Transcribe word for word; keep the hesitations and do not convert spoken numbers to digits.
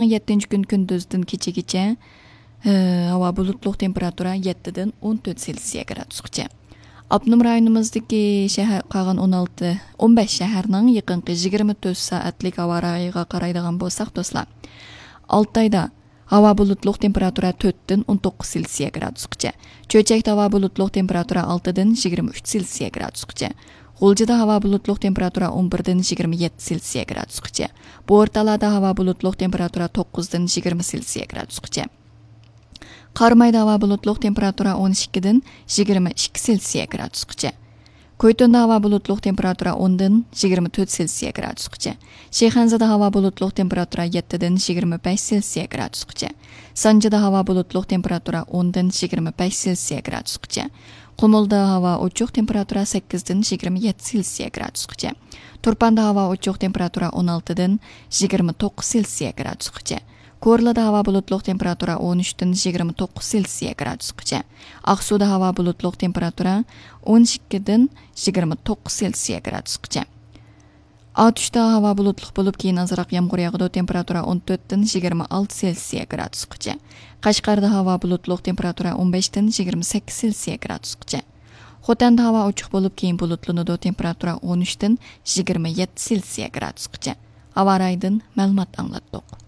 يەتتىنچى كۈن كۈندۈزدىن كېچىگىچە، ھاۋا بۇلۇتلۇق، تېمپېراتۇرا يەتتىدىن ئون تۆت سېلسىيە گرادۇسقىچە. ئاپتونوم رايونىمىزدىكى شەھەر، قالغان ئون ئالتە، ئون بەش شەھەرنىڭ يېقىنقى يىگىرمە تۆت سائەتلىك ھاۋا رايىغا قارايدىغان بولساق، دوستلار، ئالتايدا ھاۋا بۇلۇتلۇق، تېمپېراتۇرا تۆتتىن ئون توققۇز سېلسىيە گرادۇسقىچە. چۆچەكتە ھاۋا بۇلۇتلۇق، تېمپېراتۇرا ئالتىدىن يىگىرمە ئۈچ سېلسىيە گرادۇسقىچە. غۇلجىدا ھاۋا بۇلۇتلۇق، تېمپېراتۇرا ئون بىردىن يىگىرمە يەتتە سېلسىيە گرادۇسقىچە. بورتالادا ھاۋا بۇلۇتلۇق، تېمپېراتۇرا توققۇزدىن يىگىرمە سېلسىيە گرادۇسقىچە. قارامايدا ھاۋا بۇلۇتلۇق، تېمپېراتۇرا ئون ئىككىدىن يىگىرمە ئىككى سېلسىيە گرادۇسقىچە. كويتۇندا ھاۋا بۇلۇتلۇق، تېمپېراتۇرا ئوندىن يىگىرمە تۆت سېلسىيە گرادۇسقىچە. شىخەنزىدە ھاۋا بۇلۇتلۇق، تېمپېراتۇرا يەتتىدىن يىگىرمە بەش سېلسىيە گرادۇسقىچە. سانجىدا ھاۋا بۇلۇتلۇق، تېمپېراتۇرا ئوندىن يىگىرمە بەش سېلسىيە گرادۇسقىچە. قۇمۇلدا ھاۋا ئوچۇق، تېمپېراتۇرا سەككىزدىن يىگىرمە يەتتە سېلسىيە گرادۇسقىچە. تۇرپاندا ھاۋا ئوچۇق، تېمپېراتۇرا ئون ئالتىدىن يىگىرمە توققۇز سېلسىيە گرادۇسقىچە. كورلىدا ھاۋا بۇلۇتلۇق، تېمپېراتۇرا ئون ئۈچتىن يىگىرمە توققۇز سېلسىيە گرادۇسقىچە. ئاقسۇدا ھاۋا بۇلۇتلۇق، تېمپېراتۇرا ئون ئىككىدىن يىگىرمە توققۇز سېلسىيە گرادۇسقىچە. ئاتۇشتا ھاۋا بۇلۇتلۇق بولۇپ، كېيىن ئازراق يامغۇر ياغىدۇ، تېمپېراتۇرا ئون تۆتتىن يىگىرمە ئالتە سېلسىيە گرادۇسقىچە. قەشقەردە ھاۋا بۇلۇتلۇق، تېمپېراتۇرا ئون بەشتىن يىگىرمە سەككىز سېلسىيە گرادۇسقىچە. خوتەندە ھاۋا ئوچۇق بولۇپ، كېيىن بۇلۇتلىنىدۇ، تېمپېراتۇرا ئون ئۈچتىن يىگىرمە يەتتە سېلسىيە گرادۇسقىچە. ھاۋا رايىدىن مەلۇمات ئاڭلاتتۇق.